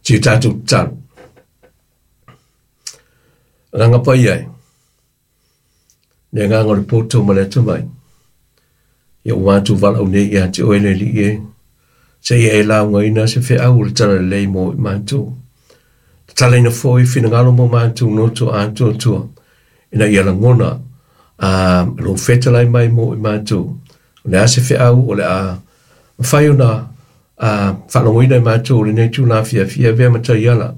Si o tatou tatalo. Agaga Paia e, le agaga o le poto ma le atamai, ia ua matou valaau nei ia te oe le Alii e, seia e laugaina se feau o le talalelei mo i matou. Tatalaina foi finagalo mo matou noto atoatoa, ina ia lagona a lou fetalai mai mo i matou. O le a se feau o le a mafai ona a faalogoina e matou lenei tula afiafi, ia avea ma taiala,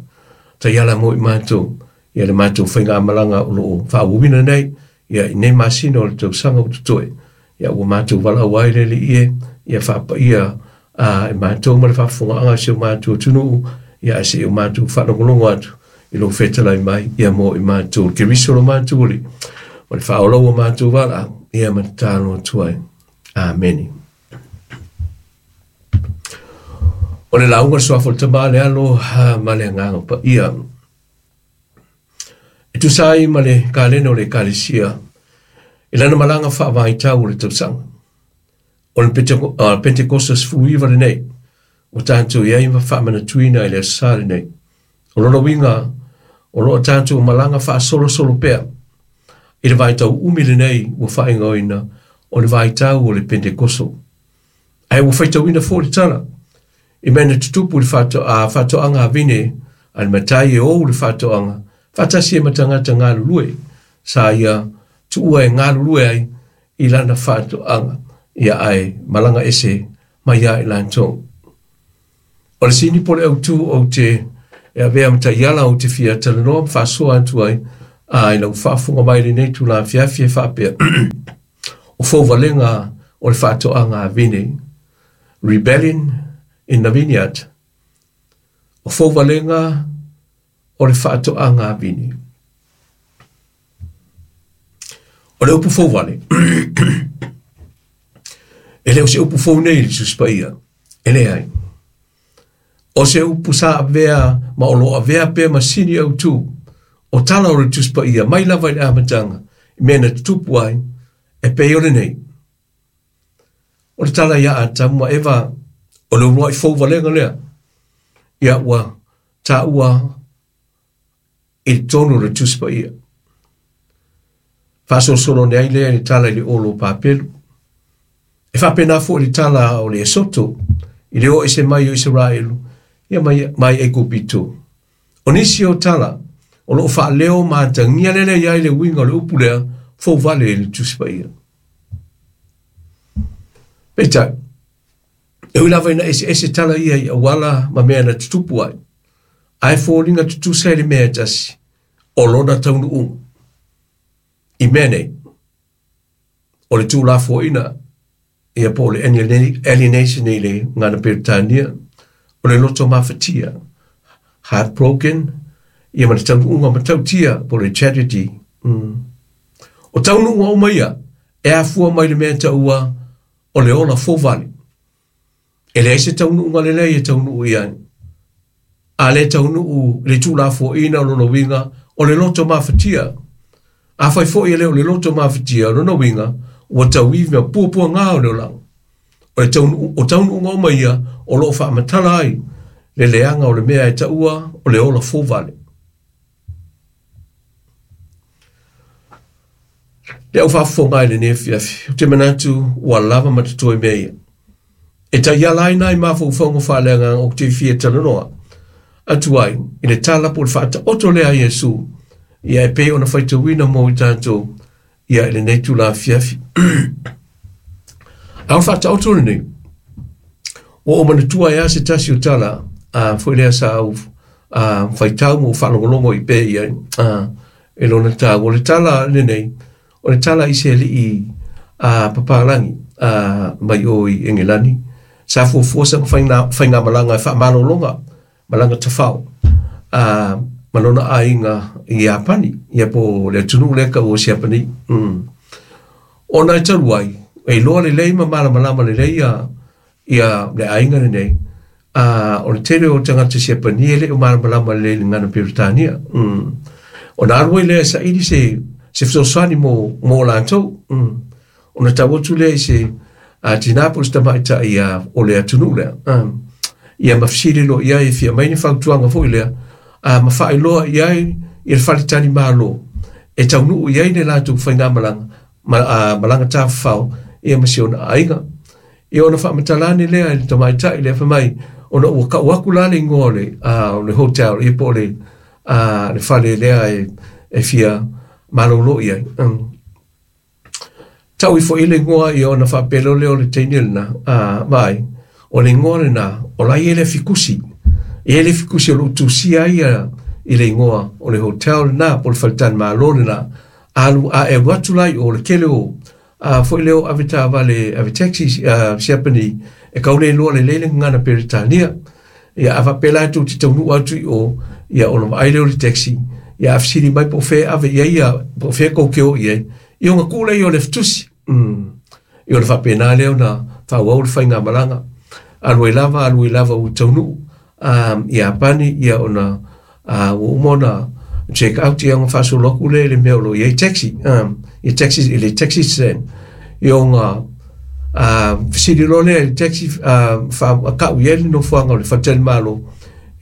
taiala mo i matou, ia le matou faigamalaga o loo faaauauina nei, ia i nei masina o le tausaga ua totoe, ia ua matou valaau ai le Alii e, ia faapaia a e matou ma le faafofogaaga a si o matou atunuu, ia ae seia o matou faalogologo atu i lou fetalai mai, ia mo i matou, le Keriso lo matou Alii, ma le faaola ua matou valaau, ia ma tatalo atu ai. Amene. O le lauga le suafa o le Tama, le Alo ma le Agaga Paia. E tusa ai ma le kalena o le Ekalesia i lana malaga faavaitau o le tausaga. O le Pentekosta 19 lenei, ua tatou i ai ma faamanatuina i le aso Sa lenei. O lona uiga, o lo o tatou malaga faasolosolo pea i le vaitau umi lenei ua faaigoaina o le vaitau o le Pentekoso. Ae ua faitauina foi le tala i mea na tutupu i le faatoaga a vine a le matai e ou le faatoaga faatasi ai ma tagata galulue sa ia tuua e galulue ai i lana faatoaga ia ae malaga ese mai ia i latou. O le sini po o le autu ou te e avea ma taiala ou te fia talanoa ma faasoa atu ai a i lau faafofoga mai i lenei tula afiafi e faapea o fouvalega o le faatoaga a vine, Rebellion in the Vineyard, o fouvalega o le faatoaga a vine. O le upu fouvale, e le o se upu fou nei i le Tusi Paia, e leai. O se upu sa avea ma o lo o avea pea ma sini autu o tala o le Tusi Paia mai lava i le amataga i mea na tutupu ai e pei o lenei. O le tala ia Atamu ma Eva, o le uluai fouvalega lea, ia ua taua i totonu o le Tusi Paia. Faasolosolo ane ai lea i le tala i le olo o Papelu. E faapena foi le tala o le Esoto i le o ese mai o Isaraelu ia mai, mai Aikupito. O nisi o tala o loo faaleo ma atagia lelei ai le uiga o le upu lea fouvale i le Tusi Paia. Peitai, e ui lava ina eseese tala ia i auala ma mea na tutupu ai, ae foliga tutusa i le mea e tasi, o lona taunuuga. I mea nei, o le tuulafoaiina ia po o le alienation i le gagana Peretania, o le loto mafatia, heartbroken, ia ma le taunuuga matautia po o le tragedy. O taunuuga uma ia, e afua mai le mea taua o le ola fouvale. E leai se taunuuga lelei e taunuu i ai. A le taunuu i le tuulafoaiina o lona uiga o le loto mafatia. Afai foi e le o le loto mafatia o lona uiga ua tauivi ma puapuaga o le olaga. O le taunuu, o taunuuga uma ia o lo o faamatala ai le leaga o le mea e taua o le ola fouvale. Le au faafofoga i lenei afiafi, ou te manatu ua lava ma totoe mea ia. E taiala ai nai mafaufauga faaleagaga ou te fia talanoa atu ai i le tala po o le faataoto lea a Iesu ia e pei ona faitauina mo i tatou ia i lenei tula afiafi. A o le faataoto lenei, ua ou manatua ai lava se tasi o tala a foi lea sa ou a, faitau ma ou faalogologo i pea i ai a, e lona taua. O le tala lenei, o le tala i se alii a, papalagi a, mai o i Engelani, sa fuafua sana faigamalaga e faamalologa malaga tafao a, ma lona aiga i Iapani, ia po o le atunuu lea taua o Siapani. Ona e talu ai, e iloa lelei ma malamalama lelei ia, ia le aiga lenei, a, o le tele o tagata Siapani e le o malamalama lelei i le gagana Peretania. Ona alu ai lea e saili se, se fesoasoani mo, mo latou. Ona tau atu lea i se a, tina po o se tamaitai o le atunuu lea. Ia ma fesili loa i ai e fia aumai ni fautuaga foi lea, a ma faailoa i ai i le faletalimalo e taunuu i ai le latou faigamalaga ma, malaga tafafao ia ma si ona aiga. Ia ona faamatala ane lea i le tamaitai lea fai mai, ona ua kau aku la le igoa o le, o le hotel, ia po o le, le fale lea e, e fia malolo i ai. Tau ifo i le igoa ia ona faapea loa lea o le teine lena, vaai, o le igoa lena, o la e i ai le afikusi. E i ai le afikusi o lo o tusia ai ia i le igoa o le hotel lena, po o le faletalimalo lena. Alu, a e alu atu la i o le tele o, a foi lea o avetaavale, avetaxi, Siapani, e kau le iloa lelei le gagana Peretania. Ia, a faapea la tou te taunuu atu i o, ia ona vaai lea o le taxi, ia a fesili mai po o fea e ave i ai ia, po o fea kou te o i ai, ia ona tuu lea i o le afitusi. Ia ona faapena lea ona faaauau le faigamalaga. Alu ai lava, alu ai lava ua taunuu i Iapani, ia ona ua uma ona check out, ia ona faasolo atu lea i le mea o lo o i ai taxi, i taxi, i le taxi stand. Ia ona fesili loa lea i le taxi, kau i ai le nofoaga o le faletalimalo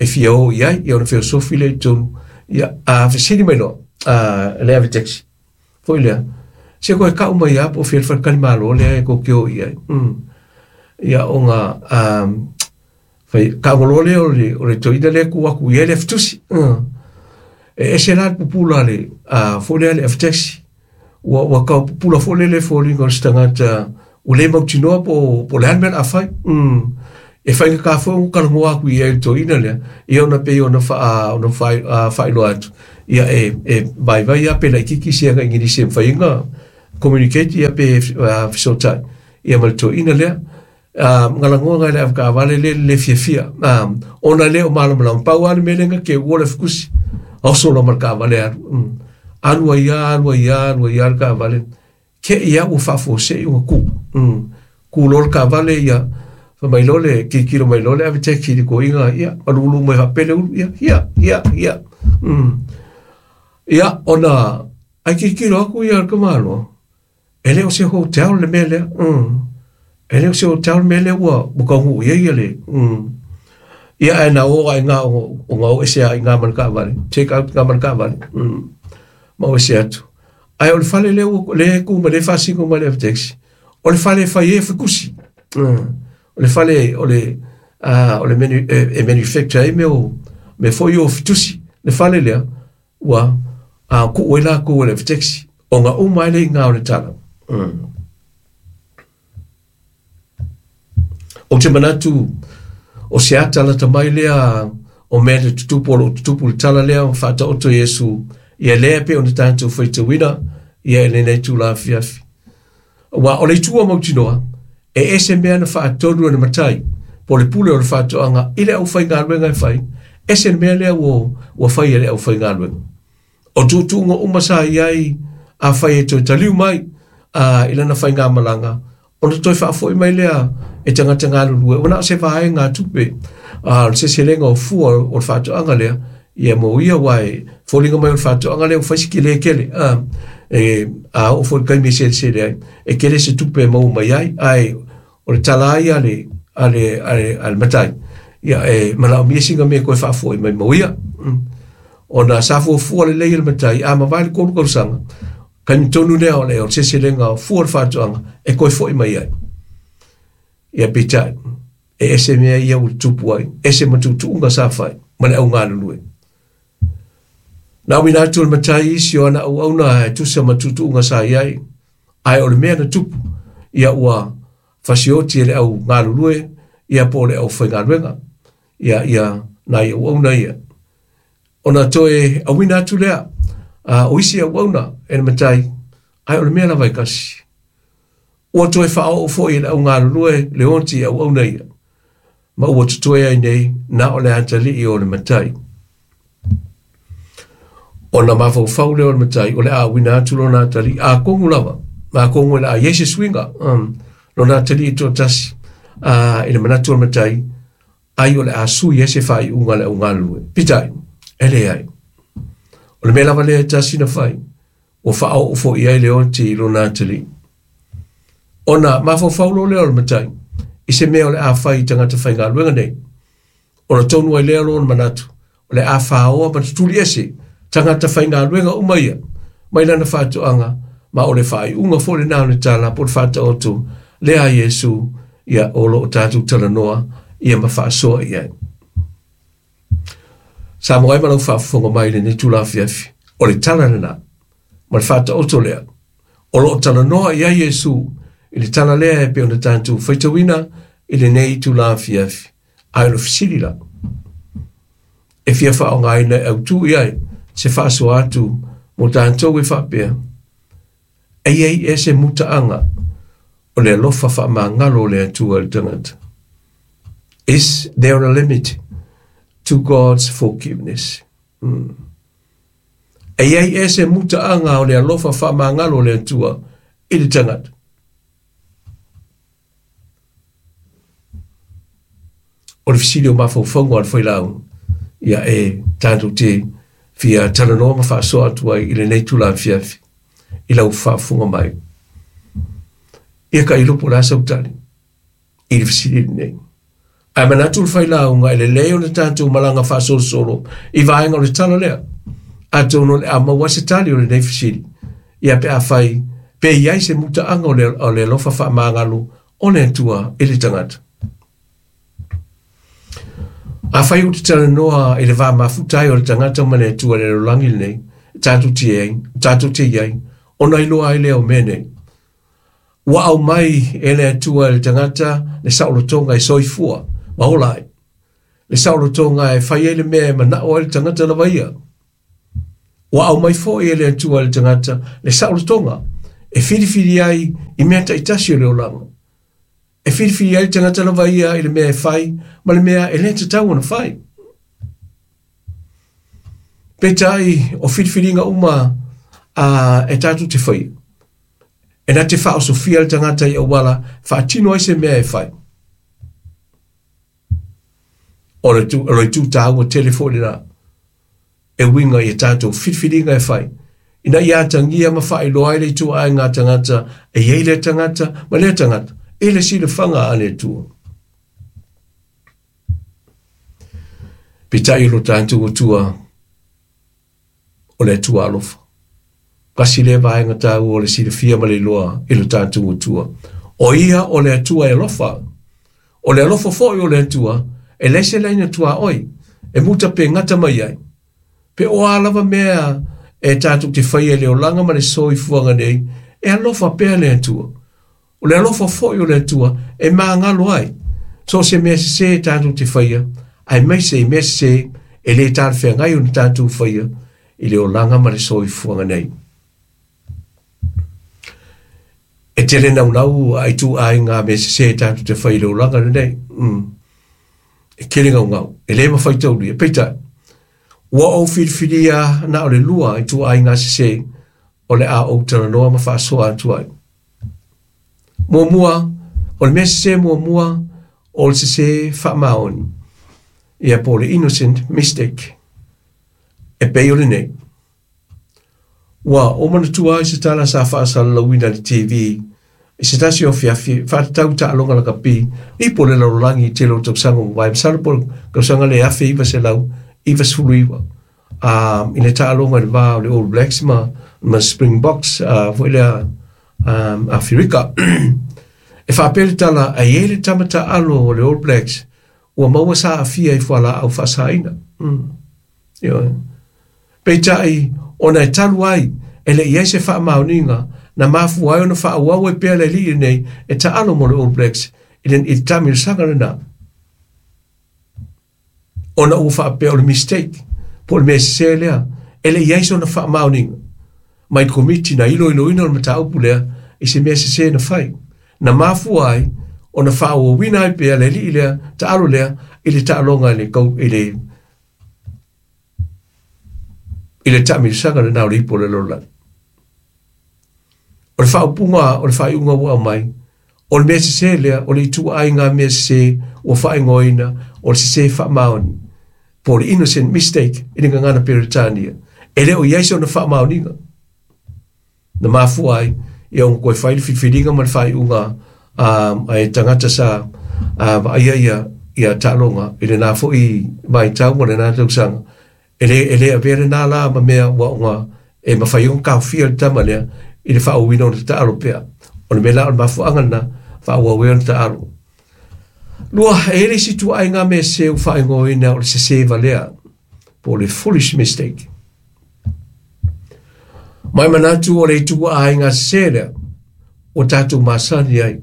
e fia o i ai, ia ona feosofi lea i totonu. Ia, a fesili mai loa le ave taxi, foi lea, se koe kau mai lava po o fea le faletalimalo lea e kou te o i ai. Ia ona fai, tago loa lea o le, o le toeaina lea tuu atu i ai le afitusi. E ese la le pupula le, foi lea le avetaxi. Ua, ua tau pupula foi lele foliga o se tagata ua le mautinoa po, po o le a le mea o le a fai. E faigata foi ona talanoa atu i ai i le toeaina lea, ia ona pei ona faa, ona faailoa atu, ia e, e vaivai lava pe laitiiti se aga Igilisi e mafai ai ona communicate ia pe fesootai ia ma le toeaina lea. Galanoa nai le avetaavale le le fiafia, ona le o malamalama, pau lava le mea lea na te ua le fukusi, oso loa ma le taavale alu. Alu ai lava, alu ai lava, alu ai lava le taavale, te i lava ua faafuasei ona tu. Tu loa le taavale, ia, fai mai loa le, tilotilo mai loa le ave taxi i le toeaina, ia, malulu mai faapea le ulu, ia, ia, ia, ia. Ia, ona, ae tilotilo atu ia le tamaloa, E le o se hotel le mea lea. E le o se hotel le mea lea ua, ua taunuu i ai ia le... Ia ae na o ai ngā o, o ngā o ese ai ngā ma le taavale. Take out ngā ma le taavale. Ma o ese atu. Ae o le fale lea ua, lea e tu ma le faasino mai le taxi. O le fale e fai ai fikusi. O le fale o le, o le manu, e, e manufacture ai mea o, mea foi o fitusi. Le fale lea, Ua a kuu ai lakou e le avetaxi, ona uma ai le iga o le tala. Ou te manatu o se ata lata mai lea o mea na tutupu o lo o tutupu le tala lea o faataoto Iesu ia lea pei ona tatou faitauina ia i lenei itula afiafi. Aua o le itu a mautinoa, e ese mea na faatonu e le matai, po o le pule o le faatoaga i le aufaigaluega e fai, ese le mea lea ua, ua fai e le aufaigaluega. O tuutuuga uma sa i ai, afai e toe taliu mai a, i lana faigamalaga, ona toe faafoi mai lea e tagata galulue, ua na o se vaegatupe, a, o le seleselega o fua o le faatoaga lea, ia mo ia aua e foliga mai o le faatoaga lea ua fai si tele tele, a, e, a oo foi i le taimi e selesele ai, e tele se tupe e maua mai ai, ae o le tala ai a le, a le, a le, a le matai, ia e manaomia sina mea e toe faafoi mai mo ia. Ona sa fuafua lelei e le matai, a mavae le 3 tausaga, taimi tonu lea o le, o le seleselega o fua o le faatoaga e toe foi mai ai. Ia peitai, e ese mea ia ua tutupu ai, ese ma tuutuuga sa fai ma le au galulue. Na auina atu e le matai isi o ana auauna e tusa ma tuutuuga sa i ai, ae o le mea na tupu, ia ua fasioti e le au galulue, ia po o le aufaigaluega, ia, ia nai auauna ia. Ona toe auina atu lea o isi auauna e le matai, ae o le mea lava e tasi. Ua toe faaoo foi e le au galulue le oti i auauna ia, ma ua totoe ai nei na o le atalii o le matai. Ona mafaufau lea o le matai, o le a auina atu lona atalii, atonu lava, atonu o le a i ai se suiga, lona atalii toatasi, i le manatu o le matai, ai o le a sui ai se faaiuga a le au galulue. Peitai, e leai. O le mea lava lea e tasi na fai, ua faaoo foi i ai le oti i lona atalii. Ona mafaufau loa lea o le matai i se mea o le a fai i tagata faigaluega nei. Ona tonu ai lea o lona manatu, o le a faoa ma tutuli ese tagata faigaluega uma ia mai lana faatoaga, ma o le faaiuga foi lena o le tala po o le faataoto lea a Iesu, ia o lo o tatou talanoa ia ma faasoa i ai. Sa maua ai ma lau faafofoga mai i lenei itula afiafi, o le tala lena ma le faataoto lea o lo o talanoa i ai Iesu i le tala lea e pei ona tatou faitauina i lenei itula afiafi. Ae o le fesili la, e fia faaaogaina e autu i ai se faasoa atu mo tatou e faapea, e i ai ea se mutaaga o le alofa faamagalo o le Atua i le tagata? Is there a limit to God's forgiveness? E i ai ea se mutaaga o le alofa faamagalo o le Atua i le tagata? O le fesili o mafaufauga o le failauga, ia e tatou te fia talanoa ma faasoa atu ai i lenei itula afiafi i lau faafofoga mai. Ia ka iloa po o le a sau tali i le fesili lenei. Ae manatu le failauga e lelei ona tatou malaga faasolosolo i vaega o le tala lea. Atonu o le a maua ai se tali o lenei fesili. Ia pe afai pe i ai se mutaaga o le alofa faamagalo o le Atua i le tagata. Afai ou te talanoa i le va mafuta ai o le tagata ma le Atua i le lalolagi lenei, e tatou te i ai, tatou te i ai, ona iloa ai lea o mea nei. Ua aumai e le Atua i le tagata le saolotoga e soifua ma ola ai. Le saolotoga e fai ai le mea e manao ai le tagata lava ia. Ua aumai foi e le Atua i le tagata le saolotoga e filifili ai i mea taitasi o le olaga. E filifili ai le tagata lava ia i le mea e fai ma le mea e le tatau ona fai. Peitai, o filifiliga uma a e tatou te faia, e na te faaosofia le tagata i auala faatino ai se mea e fai. O le o le itu tāua tele foi lena e uiga i a tatou filifiliga e fai, ina ia atagia ma faailoa ai le ituaiga a tagata e i ai lea tagata ma lea tagata i le silafaga a le Atua. Peitai o lo tatou Atua, o le Atua alofa. Tasi lea vaega taua o le silafia ma le iloa i lo tatou Atua. O ia o le Atua e alofa. O le alofa foi o le Atua, e leai se laina tuaoi, e muta pe gata mai ai. Pe o a lava mea e tatou te faia i le olaga ma le soifuaga nei, e alofa pea le Atua. O le alofa foi o le Atua e magalo ai so o se mea sesē e tatou te faia, aemaise i mea sesē e le talafeagai ona tatou faia i le olaga ma le soifuaga nei. E tele naunau a ituaiga mea sesē tatou te fai i le olaga lenei. E tele gaugau, e le mafai taulia. Peitai, ua ou filifilia na o le lua ituaiga sesē o le a ou talanoa ma faasoa atu ai. Muamua, o le mea sesē muamua, o le sesē faamaoni, ia po o le innocent mistake, e pei o lenei. Ua ou manatua ai se tala sa faasalalauina i le TV i se tasi o afiafi faatatau i taaloga lakapi i po o le lalolagi i tele o tausaga ua mavae, masalo po o le tausaga lea 1999, i le taaloga i le va o le All Blacks ma, ma Springboks foi lea Aferika. E faapea le tala, a i ai le tama taalo o le All Blacks ua maua sa aafia i fualaau faasaina. Ioe. Peitai, ona e talu ai e le i ai se faamaoniga na mafua ai ona faaauau ai pea le alii lenei e taalo mo le All Blacks i le, i le taamilosaga lena. Ona ua faapea o le mistake, po o le mea sesē lea, e le i ai sona faamaoniga mai le komiti na iloiloina o le mataupu lea i se mea sesē na fai, na mafua ai ona faaauauina ai pea le alii lea, taalo lea, i le taaloga i le, i le, i le taamilosaga lena o le ipu o le lalolagi. O le faaupuga o le faaiuga ua aumai, o le mea sesē lea, o le ituaiga mea sesē ua faaigoaina o le sesē faamaoni, po o le innocent mistake i le gagana Peretania. E le o i ai sona faamaoniga. Na mafua ai ia ona toe fai le filifiliga ma le faaiuga a e tagata sa vaaia ia ia taaloga i lena foi vaitau ma lena tausaga. E le, e le avea lena la ma mea ua ona e mafai ai ona taofia le tama lea i le faaauauina o le taalo pea. O le mea la o le mafuaaga lena, faaauau ai ona taalo. Lua, e i ai le isi ituaiga mea sese ua faaigoaina o le sese valea, po o le foolish mistake. Mai manatu o le ituaiga sese lea ua tatou masani ai,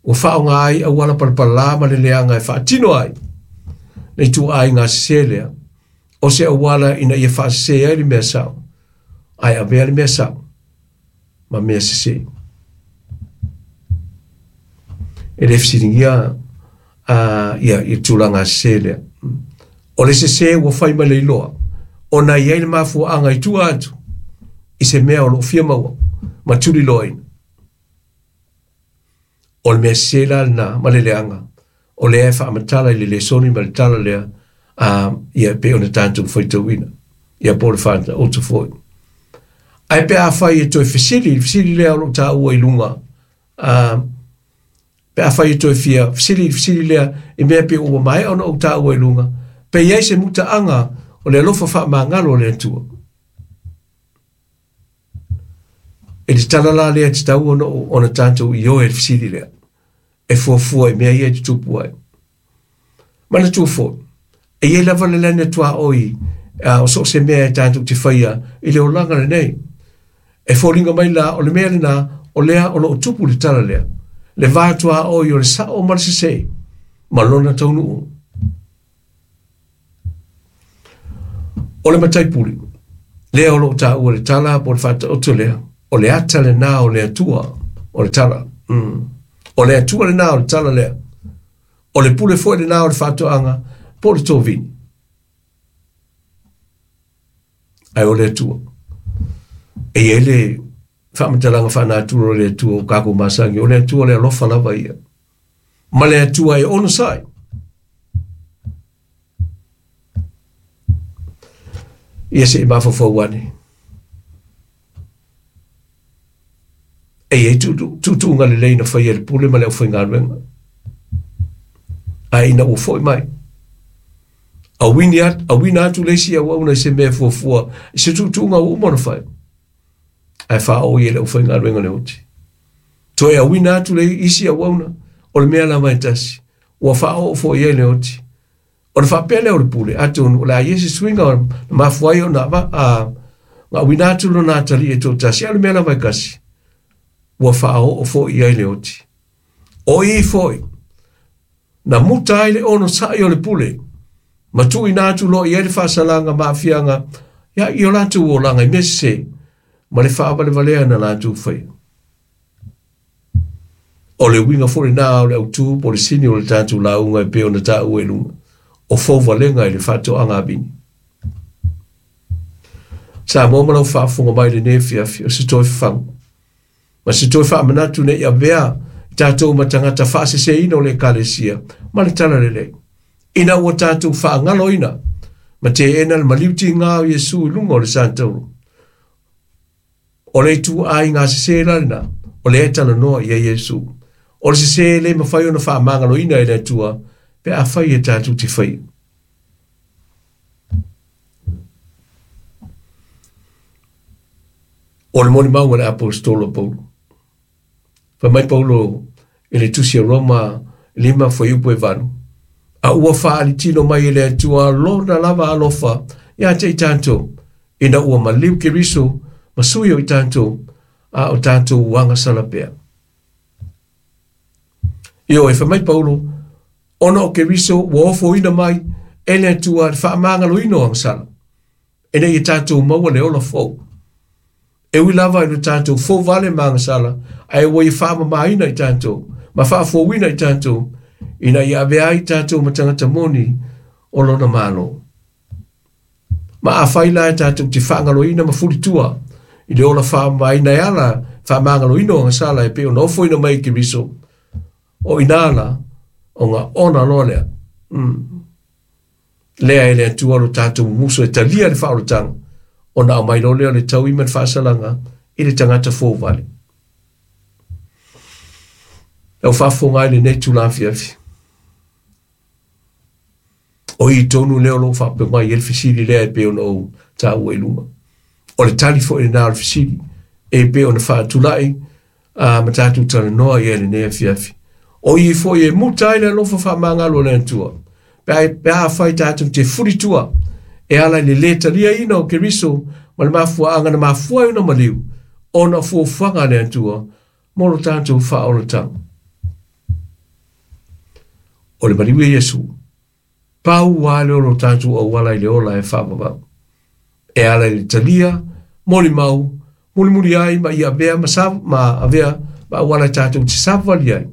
ua faaaoga ai auala palapala ma le leaga e faatino ai le ituaiga sese lea, o se auala ina ia faasese ai le mea sao, ae avea le mea sao ma mea sese. E le fesiligia ia, ia tulaga sese lea. O le sese ua fai mai le iloa, ona e i ai le mafuaaga i tua atu i se mea o lo o fia maua ma tuliloaina. O le mea sese la lena ma le leaga, o lea e faamatala i le lesoni ma le tala lea, ia e pei ona tatou faitauina, ia po o le faataoto foi. Ae pe afai e toe fesili, le fesili lea o lo o taua i luga, pe afai e toe fia fesili i le fesili lea i mea pei ua maea ona ou taua i luga, pe i ai se mutaaga o le alofa faamagalo o le Atua. I le tala la lea e tatau ona, ona tatou ioe i le fesili lea, e fuafua i mea ia e tutupu ai. Manatua foi, e i ai lava le lani tuaoi o so o se mea e tatou te faia i le olaga lenei. E foliga mai la o le mea lena o lea o lo o tupu le tala lea, le va tuaoi o le sao ma le sese ma lona taunuu. O le matai puli, lea o lo o taua le tala po o le faataoto lea, o le ata lena o le Atua o le tala. O le Atua lena o le tala lea. O le pule foi lena o le faatoaga po o le tovini. Ae o le Atua. E i ai le faamatalaga faanatura o le Atua o kākou masani, o le Atua le alofa lava ia. Ma le Atua e onosai. Ia se i mafaufau ane. E i ai tuutuuga lelei na faia e le pule ma le aufaigaluega. Ae ina ua foi mai, auina atu, auina atu le isi auauna i se mea fuafua, i se tuutuuga ua uma ona fai. Ae faaoo i e le aufaigaluega le oti. Toe auina atu le isi auauna, o le mea lava e tasi, ua faaoo foi i ai le oti. Ona faapea lea o le pule, atonu o le a i ai se suiga na mafua ai ona auina atu lona atalii e toatasi, a o le mea lava e kasi, ua faaoo foi i ai le oti. O i foi, na muta ai le onosai o le pule, ma tuuina atu loa i ai le faasalaga ma aafiaga ia i o latou olaga i mea sese, ma le faavalevalea na latou faia. O le uiga foi lena o le autū po o le sini o le tatou lauga e pei ona taua i luga, o fouvalega i le faatoaga a vini. Samoa ma lau faafofoga mai i lenei afiafi, o se toe fafagu ma se toe faamanatu ne i avea i tatou ma tagata faaseseina o le Ekalesia ma le Talalelei, ina ua tatou faagaloina ma teena le maliu tiga o Iesu i luga o le satauro. O le ituaiga sese la lena, o lea e talanoa i ai Iesu. O le sese e le mafai ona faamagaloina e le Atua pe afai e tatou te faia. O le molimau a le aposetolo Paulo. Fai mai Paulo i le tusi a Roma 5 fuaiupu e 8, a ua faalitino mai e le Atua lona lava alofa ia te i tatou, ina ua maliu Keriso ma sui o i tatou, a o tatou agasala pea. Ioe, fai mai Paulo, ona o Keriso ua ofoina mai e le Atua le faamagaloina o agasala, ina ia tatou maua le ola fou. E ui lava i lo tatou fouvale ma agasala, ae ua ia faamamaina i tatou, ma faafouina i tatou, ina ia avea ai tatou ma tagata moni o lona Malo. Ma afai la e tatou te faagaloina ma fulitua i le ola faamamaina e ala faamagaloina o agasala e pei ona ofoina mai e Keriso, o ina la, ona ona loa lea. Lea e le Atua lo tatou mumuso e talia le faaolataga, ona aumai loa lea o le taui ma le faasalaga i le tagata fouvale. Lau faafofoga ai lenei itula afiafi. O i tonu lea o loo faapea mai ai le fesili lea e pei ona ou taua i luga. O le tali foi lena o le fesili e pei ona faatulai ma tatou talanoa i ai lenei afiafi. O i foi e muta ai le alofa faamagalo o le Atua. Pe a fai tatou te fulitua e ala i le lē taliaina o Keriso ma le mafuaaga na mafua ai ona maliu ona o fuafuaga a le Atua mo lo tatou faaolataga. O le maliu e Iesu, pau lava lea o lo tatou auala i le ola e faavavau. E ala i le talia, molimau, mulimuli ai ma ia avea ma, sa, ma avea ma auala e tatou te savavali ai.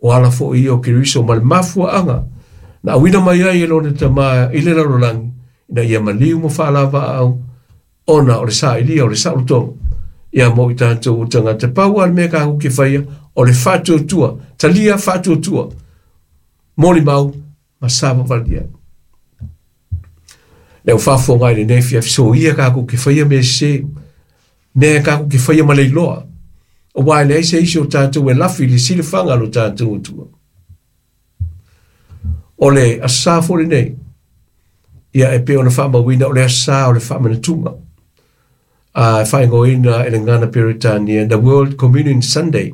O ala foi ia o Keriso ma le mafuaaga na auina mai ai e lona Tama i le lalolagi ina ia maliu ma faalavaau ona o le sailia o le saolotoga ia mo i tatou o tagata. Pau lava le mea tatou te faia o le faatuatua, talia faatuatua, molimau ma savavali ai. Le au faafofoga i lenei afiafi, soia tatou te faia mea sese, mea tatou te faia ma le iloa, aua e leai se isi o tatou e lafi i le silafaga a lo tatou Atua. O le Aso Sa foi lenei, ia e pei ona faamauina o le Aso Sa o le Faamanatuga, a e faaigoaina e le gagana Peretania The World Communion Sunday,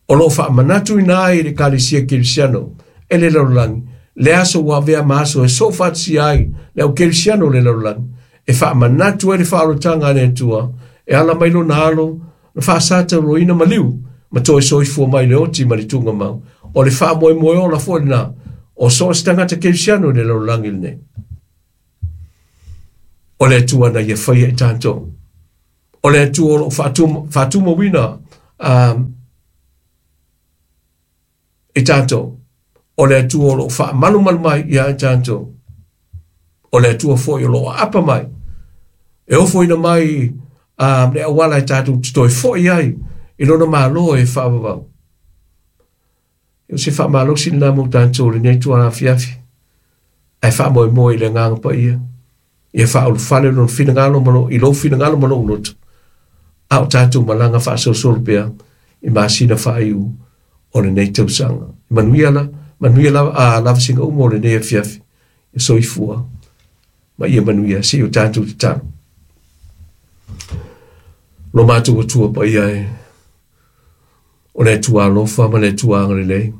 o lo o faamanatuina ai le Ekalesia Kerisiano e le lalolagi le aso ua avea ma aso e soofaatasia ai le au Kerisiano o le lalolagi, e faamanatu ai le faaolataga a le Atua e ala mai lona alo na faasatauroina maliu ma toe soifua mai le oti ma le tugamau. O le faamoemoe ola foi lena o so o se tagata Kerisiano i le lalolagi lenei. O le Atua na ia faia i tatou. O le Atua o lo o faatumauina i tatou. O le Atua o lo o faamalumalu mai ia i tatou. O le Atua foi o lo o aapa mai. E ofoina mai le auala e tatou te toe foi ai i lona Malo e faavavau. O se faamalosi lena mo tatou lenei tuala afiafi. Ae faamoemoe i le Agaga Paia. Ia faaulufale lona finagalo ma i lou finagalo ma lou loto. A o tatou malaga faasolosolo pea i masina faaiu o lenei tausaga. Manuia la, manuia lava, lavasiga uma o lenei afiafi. Ia soifua ma ia manuia se i o tatou tatalo. Lo matou Atua paia e, o le Atua alofa ma le Atua agalelei.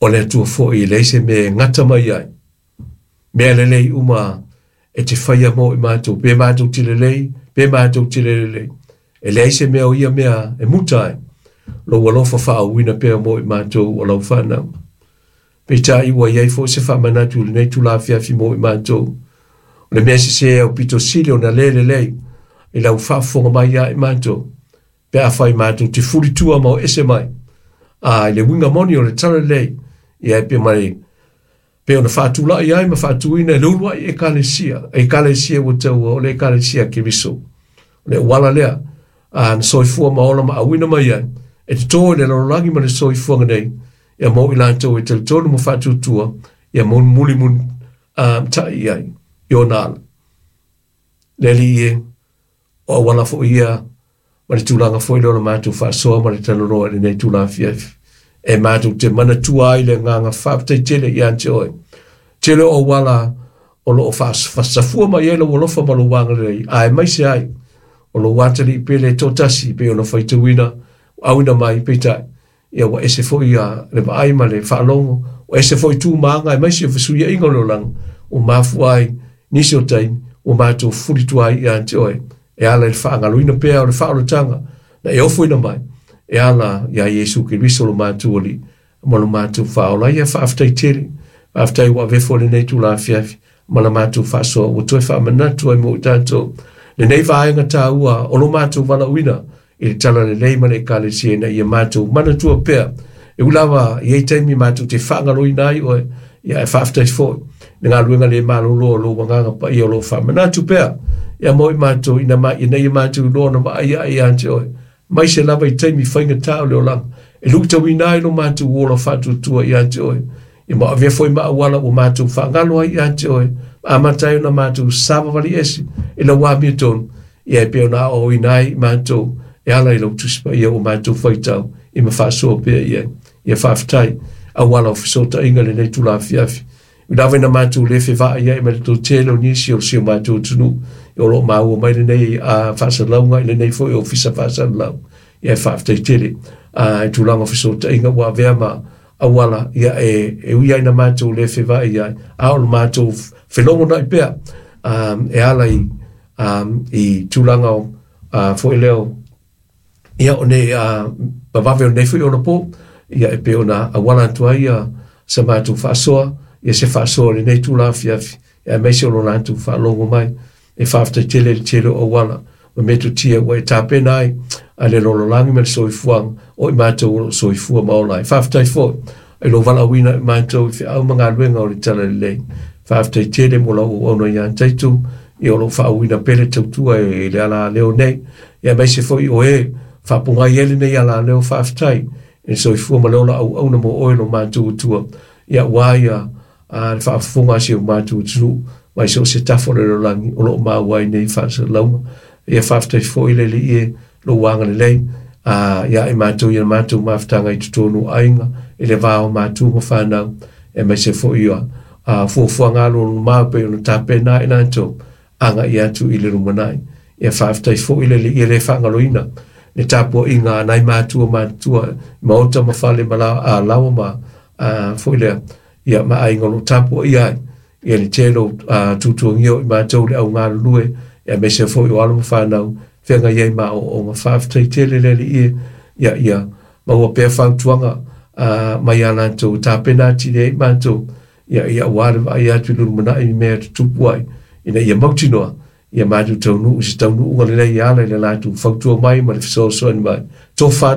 O le Atua foi e leai se mea e gata mai ai. Mea lelei uma e te faia mo i matou, pe matou te lelei, pe matou te le lelei. E leai se mea o ia mea e muta ai. Lou alofa faaauina pea mo i matou o lau whanau. Peitai ua iai foi se faamanatu i lenei itula afiafi mo i matou. O le mea sese au pito sili ona le lelei i lau faafofoga mai ia i matou. Pe afai matou te fulitua ma o ese mai. A i le uiga moni o le talalelei, ia e pe mai pe ona faatulai ai ma faatuina e le uluai ekalesia, ekalesia ua taua o le ekalesia a Keriso. O le auala lea, a na soifua ma ola ma auina mai ai, e toto i le lalolagi ma le soifuaga nei, ia mo i latou e talitonu ma faatuatua, ia mulimuli ta'i i ai i ona ala. Le Alii e, o auala foi ia ma le tulaga foi lea o le matou faasoa ma le talanoa i lenei itula afiafi. E matou te manatua ai le agaga faafetai tele ia te oe. Tele o auala o lo o faasafua mai ai lou alofa ma lou agalelei, aemaise ai o lou atalii pele toatasi pei ona faitauina auina mai, peitai ia ua ese foi ia le vaai ma le faalogo, ua ese foi tu ma aga aemaise o fesuiaiga o le olaga ua mafua ai nisi o taimi ua matou fulitua ai ia te oe e ala i le faagaloina pea o le faaolataga na e ofoina mai e ala iā Iesu Keriso lo matou Alii ma lo matou Faaola. Ia faafetai tele, faafetai ua avefa lenei itula afiafi ma la matou faasoa ua toe faamanatu ai mo i tatou lenei vaega taua o lo matou valaauina i le talalelei ma le ekalesia ina ia matou manatua pea. E ui lava i ai taimi matou te faagaloina ai oe, ia e faafetai foi le galuega le malolo o lou Agaga Paia o lo o faamanatu pea ia mo i matou ina, ma, ina ia matou iloa ona vaai ae ia te oe. Mai se lava i taimi faigata o le olaga e luitauina ai lo matou ola faatuatua ia te oe. Ia ma avea foi ma auala ua matou faagalo ai ia te oe, amata ai ona matou savavali ese i lau amiotonu, ia e pei ona aoaoina ai i matou e ala i lau Tusi Paia ua matou faitau i ma faasoa pea i ai. Ia faafetai auala o fesootaiga lenei itula afiafi. I lava ina matou le fevaai ai ma le toatele o nisi o si o matou atunuu o lo o maua mai lenei faasalalauga i lenei foi ofisa faasalalau. Ia e faafetai tele i tulaga o fesootaiga ua avea ma auala ia e ui ai ina matou le fevaai ai, a o le matou felogonai pea e ala i tulaga o foi lea o ia o nei vavave o lenei foi onapo, ia e pei ona auala atu ai sa matou faasoa, ia se faasoa i lenei itula afiafi, aemaise o lo latou faalogo mai. E faafetai tele i le tele o auala ma metotia ua e tapena ai a le lalolagi ma le soifuaga o i matou o lo o soifua ma ola ai. Faafetai foi i lou valaauina i matou i feau ma galuega o le Talalelei. Faafetai tele mo lau auauna ia tatou, ia o lo o faaauauina pea le tautua i le alaleo nei, aemaise foi o e faapogai ai lenei alaleo. Faafetai i le soifua ma le ola auauna mo oe lo matou Atua, ia aua ia le faafofoga a si o matou atunuu mai so o se tafa o le lalolagi o lo o maua ai nei faasalalauga. Ia faafetai foi le Alii e lou agalelei ia i matou i a matou mafutaga i totonu o aiga, i le va o matua ma fanau, aemaise foi ia fuafuaga alualumamao e pei ona tapena ai latou agai atu i le lumanai. Ia faafetai foi le Alii e le faagaloina le tapuaiga a nai matua matutua maota ma fale ma laoa ma foi lea ia ma aiga o lo o tapuaia ai ia le tele o tuatuagia o i matou le au galulue, aemaise foi o alo ma fanau feagai ai ma aoaoga. Faafetai tele le Alii e ia ia maua pea fautuaga mai ia latou tapena atili ai matou ia ia aua le vaai atu i le lumanai i mea e tutupu ai ina ia mautinoa ia matou taunuu i se taunuuga lelei e ala i le latou fautua mai ma le fesoasoani mai. Tofa.